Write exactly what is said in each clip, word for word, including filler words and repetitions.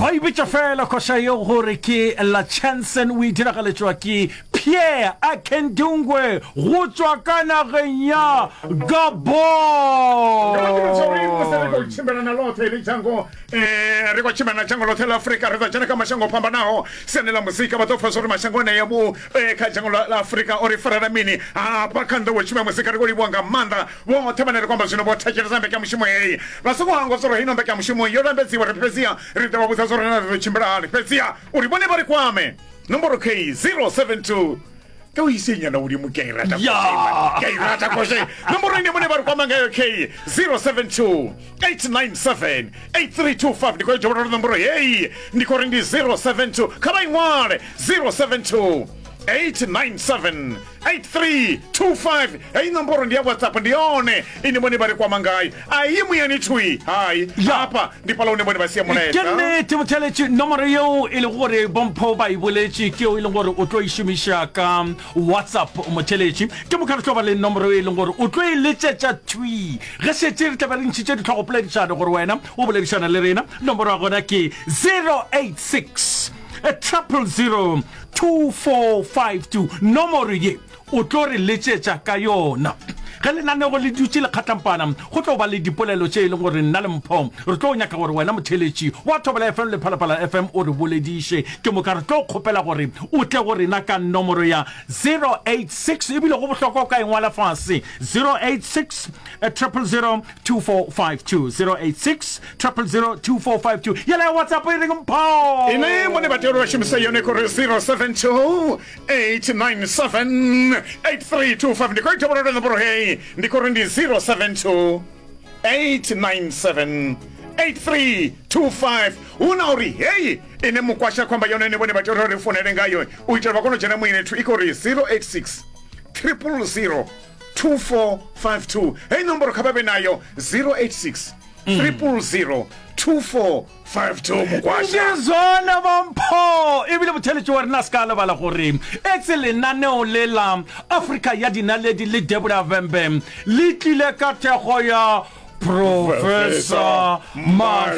Ba e bitša fela koša yeo gore ke La Chanson, o e diragaletšwa ke Pierre Akendungwe go tšwa ka nageng ya Gabon. Musi ri khou tshimbila na ḽoṱhe heḽi dzhango, eh, ri khou tshimbila na dzhango ḽoṱhe ḽa Afrika, ri ḓo dzhena kha mashango o fhambanaho siani ḽa muzika. Vha ḓo pfa zwa uri mashango anea vho eh, kha dzhango ḽa ḽa Afrika o ri farela mini hafha kha nḓowetshumo ya muzika. Ri khou livhuwa nga maanḓa vhoṱhe vhane ri khou amba zwino vho thetshelesa mbekanyamushumo heyi. Vha songo hangwa zwa uri heino mbekanyamushumo yo lambedziwa ri fhedziha ri ḓo vha vhudza zwa uri na ri ḓo tshimbila hani, fhedziha uri vhone vha ri kwame nomboro k zero seven two ka o ise nyana godimo ke a e rata. Ya. Ke a e rata koshe nomoro ine bone ba re kwama ngayo k zero seven two eight nine seven eight three two five. Ndi khou dovholola nomboro heyi, ndi khou ri ndi zero seven two, kha vha i ṅwale, zero seven two eight nine seven eight three two five. Heyi nomboro ndi ya WhatsApp, ndi yone ine vhone vha ri kwama ngayo, a i muyani thui hai. Ya. Hafha ndi fhaḽa hune vhone vha sia Ke mulaedza. nnete motheletši, nomoro yeo e lego gore bompho ba e boletše ke yeo e leng gore o tlo e šomiša ka WhatsApp motheletši. Ke moka re tlo ba le nomoro e leng gore o tlo e letšetša thwi ge šetše re tlabe re ntšhitše ditlhogopoledišano gore wena o boledišana le rena. Nomoro ya gona ke zero eight six triple zero two four five two. Nomoro ye o tlo re letšetša ka yona ge lenanego le dutše le kgatlampana. Go tlo ba le dipolelo tše e leng gore nna le Mpho re tlo nyaka gore wena motheletši wa Thobela F M le Phalaphala F M o re bolediše. Ke moka re tlo kgopela gore o tle go rena ka nomoro ya zero eight six, ebile go bohlokwa o ka e ngwala fase, zero eight six triple zero two four five two, zero eight six triple zero two four five two. Yela ya WhatsApp e reng, Mpho? Ine vhone vha tea uri vha shumise yone khori zero seven two eight nine seven eight three two five. Ndi khou ita nomboro heyi, ndi khou ri ndi zero seven two eight nine seven eight three two five. Hu na uri heyi ine mukwasha khou amba yone ine vhone vha tea uri ri founele ngayo u itela vha kone u dzhena muyeni thu, i khou ri zero eight six triple zero two four five two. Heyi nomboro kha vha vhe nayo, zero eight six triple zero two four five two, mukwasha. Ndi zwone bompho, ebile motheletši wa rena se ka lebala gore etse lenaneo le la Afrika ya Dinaledi le Debora Vembe le tlile ka thekgo ya Professor Mashaela.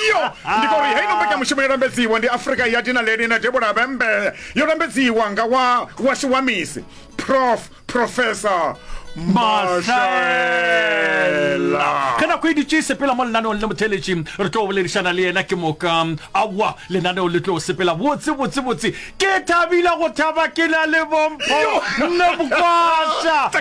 Yo ndi khou ri heino mbekanyamushumo yo lambedziwa ndi Afrika ya Dinaledi na Debora Vembe, yo lambedziwa nga wa washu wa misi Prof Professor Mashaela. Ge nako e dutše e sepela mo lenaneong le motheletši re tlo boledišana le yena. Ke moka aowa lenaneo le tlo sepela botse botse botse. Ke thabile go thaba ke na le bompho nne mokwasha.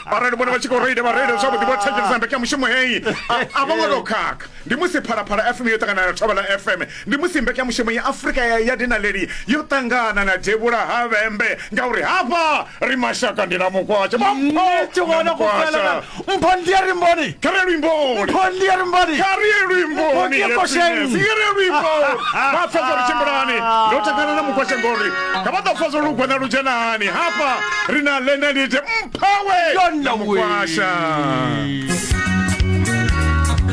Arali vhone vha tshi khou reila vha reile zwavhuḓi, vho thetshelesa mbekanyamushumo heyi, a a vho ngo tou khakha. Ndi musi Phalaphala F M yo ṱangana na Thobela F M, ndi musi mbekanyamushumo ya Afrika ya, ya Dinaledi yo ṱangana na Devhula ha Vhembe, ngauri hafha ri mashaka, ndi na mukwasha. Nnete gona go fela mpho ndi ya rimboni. Kha ri ye luimboni. Mpho ndi ya rimboni. Kha ri ye luimboni. Mpho ndi kosheng. Kha ri ye luimboni, vha pfa zwa ri tshimbilani. Ndo takala na mukwasha ngori kha vha ḓo pfa zwa lugwena lu dzhenani. Hafha ri na Lenelite Mphawe Yona na we. Mukwasha.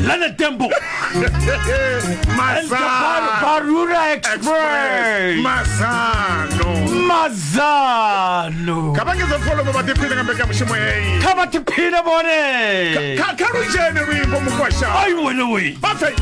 Leonard Dembo and the Bar- Mazano. Barura Express. Express. Mazano. Mazano. Kha vha ngedza pfolo vha ḓiphine nga mbekanyamushumo heyi. Kha vha tiphine bone. Kha kha lu dzhene luimbo, mukwasha. Ai wena we. Vha pfe.